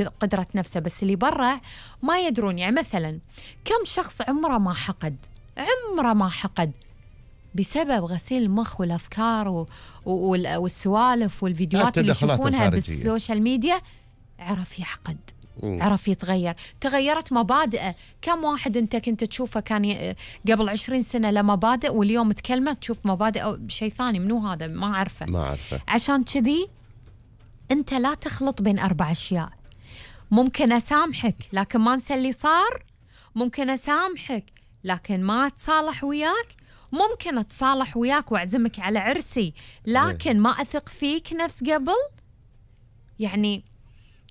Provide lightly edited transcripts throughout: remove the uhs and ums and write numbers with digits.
قدرة نفسه، بس اللي برا ما يدرون. يعني مثلا كم شخص عمره ما حقد بسبب غسيل المخ والأفكار والسوالف والفيديوهات اللي يشوفونها بالسوشيال ميديا، عرف يحقد، عرف يتغير، تغيرت مبادئه. كم واحد أنت كنت تشوفه كان قبل 20 سنة له مبادئ، واليوم تكلمه تشوف مبادئه بشيء ثاني. منو هذا؟ ما أعرفه. عشان كذي أنت لا تخلط بين 4 أشياء. ممكن أسامحك لكن ما أنسى اللي صار، ممكن أسامحك لكن ما أتصالح وياك، ممكن أتصالح وياك وأعزمك على عرسي لكن ما أثق فيك نفس قبل. يعني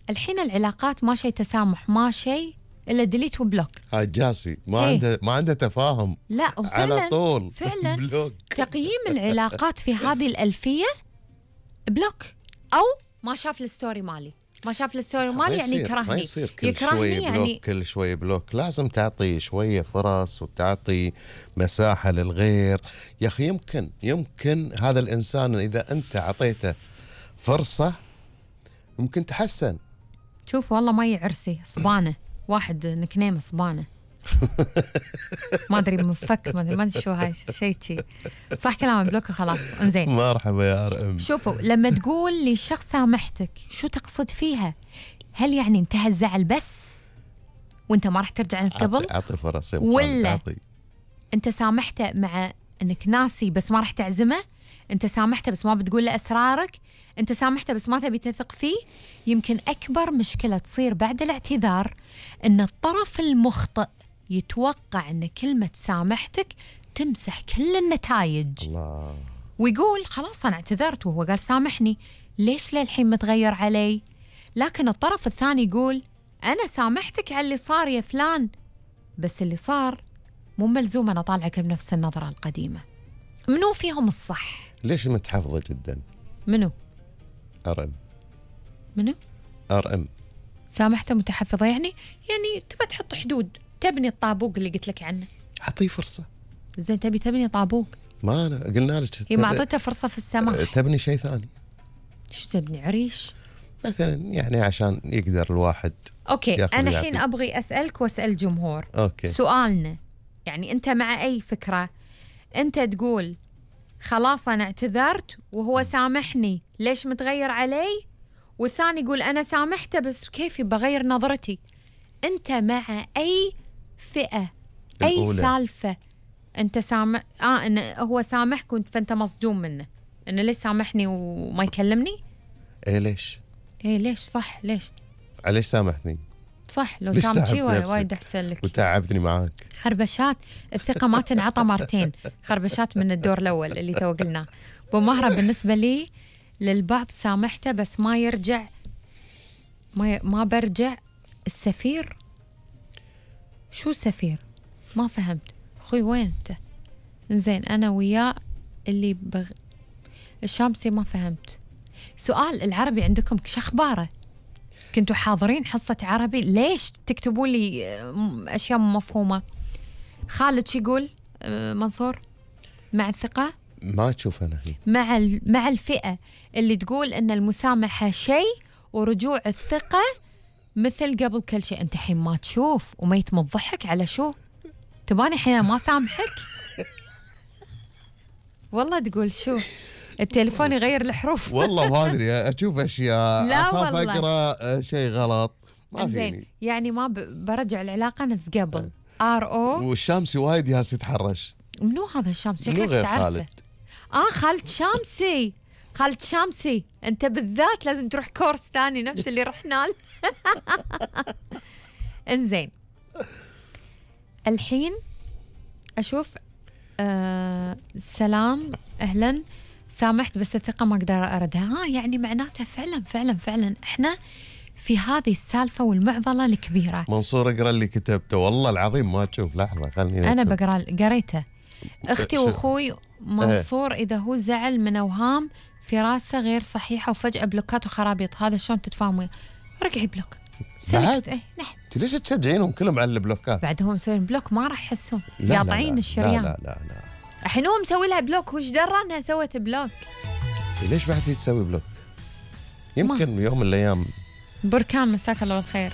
الحين العلاقات ما شيء تسامح، ما شيء إلا ديليت وبلوك. هاي جاسي ما عنده تفاهم. لا على طول فعلا بلوك. تقييم العلاقات في هذه الألفية بلوك، أو ما شاف الستوري مالي، ما شاف الستوري مالي يعني يكرهني. ما يصير كل شوي بلوك يعني كل شوي بلوك. لازم تعطي شوية فرص وتعطي مساحة للغير. يا أخي يمكن هذا الإنسان إذا أنت عطيته فرصة ممكن تحسن. شوف والله ما يعرسي صبانة، واحد نكنيمه صبانة ما أدري مفك، ما أدري شو هاي شيء صح كلام بلوك خلاص. انزين مرحبا يا RM. شوفوا لما تقول لشخص سامحتك شو تقصد فيها؟ هل يعني انتهى الزعل بس وانت ما راح ترجع نفس قبل؟ أعطي فرص، ولا انت سامحته مع انك ناسي بس ما راح تعزمه؟ انت سامحته بس ما بتقول له اسرارك؟ انت سامحته بس ما تبي تثق فيه؟ يمكن اكبر مشكلة تصير بعد الاعتذار ان الطرف المخطئ يتوقع ان كلمة سامحتك تمسح كل النتائج. الله. ويقول خلاص انا اعتذرت وهو قال سامحني، ليش للحين متغير علي؟ لكن الطرف الثاني يقول انا سامحتك على اللي صار يا فلان، بس اللي صار مو ملزوم انا اطالعك بنفس النظرة القديمة. منو فيهم الصح؟ ليش متحفظة جدا؟ منو؟ RM. منو؟ RM. سامحته متحفظة يعني تبى تحط حدود، تبني الطابوق اللي قلت لك عنه. أعطيه فرصة. زين تبي تبني طابوق؟ ما أنا قلنا لك ما أعطيته فرصة في السماح. تبني شيء ثاني. شو تبني؟ عريش مثلا يعني عشان يقدر الواحد. أوكي أنا الحين أبغي أسألك وأسأل الجمهور. أوكي. سؤالنا يعني أنت مع أي فكرة؟ أنت تقول خلاص أنا اعتذرت وهو سامحني، ليش متغير علي؟ والثاني يقول أنا سامحته بس كيف بغير نظرتي. أنت مع أي فئة؟ أي سالفة أنت سامح؟ إن هو سامحك فأنت مصدوم منه، إنه ليش سامحني وما يكلمني؟ إيه ليش؟ إيه ليش صح ليش؟ ليش سامحني؟ صح لو كان شيء وايد أحسن لك. وتعبتني معاك. خربشات الثقة ما تنعطى مرتين، خربشات من الدور الأول اللي تو قلناه. بمهرة بالنسبة لي للبعض سامحته بس ما يرجع، ما برجع. السفير شو سفير؟ ما فهمت أخوي وين أنت؟ إنزين أنا وياه اللي الشامسي ما فهمت. سؤال العربي عندكم شخباره؟ كنتوا حاضرين حصة عربي؟ ليش تكتبوا لي أشياء مفهومة؟ خالد شو يقول؟ منصور مع الثقة؟ ما تشوف أنا هي مع الفئة اللي تقول إن المسامحة شيء ورجوع الثقة مثل قبل كل شيء. أنت حين ما تشوف وما يتمضحك على شو؟ تباني حين ما سامحك؟ والله تقول شو؟ التليفون يغير الحروف. والله ما ادري اشوف اشياء لا اخاف اقرا شيء غلط ما فيني. يعني ما برجع العلاقه نفس قبل. RO. والشامسي وايد ياس يتحرش. منو هذا الشامسي؟ منو غير خالد؟ خالد شامسي. خالد شامسي انت بالذات لازم تروح كورس ثاني نفس اللي رحنا له. انزين الحين اشوف سلام اهلا سامحت بس الثقة ما أقدر أردها. يعني معناته فعلا إحنا في هذه السالفة والمعضلة الكبيرة. منصور اقرأ اللي كتبته والله العظيم ما تشوف. لحظة خلني أنا قريته. أختي وأخوي منصور إذا هو زعل من أوهام في راسه غير صحيحة وفجأة بلوكات وخرابيط، هذا شلون تتفاهموا؟ رجعي بلوك بعد. نعم. ليش تشجعينهم كلهم على البلوكات؟ بعد هم مسوين بلوك ما راح يحسون قاطعين الشريان. لا الحين هو مسوي لها بلوك، وش درى انها سوت بلوك؟ ليش بعد هي تسوي بلوك؟ يمكن يوم من الايام بركان مساك الله بالخير.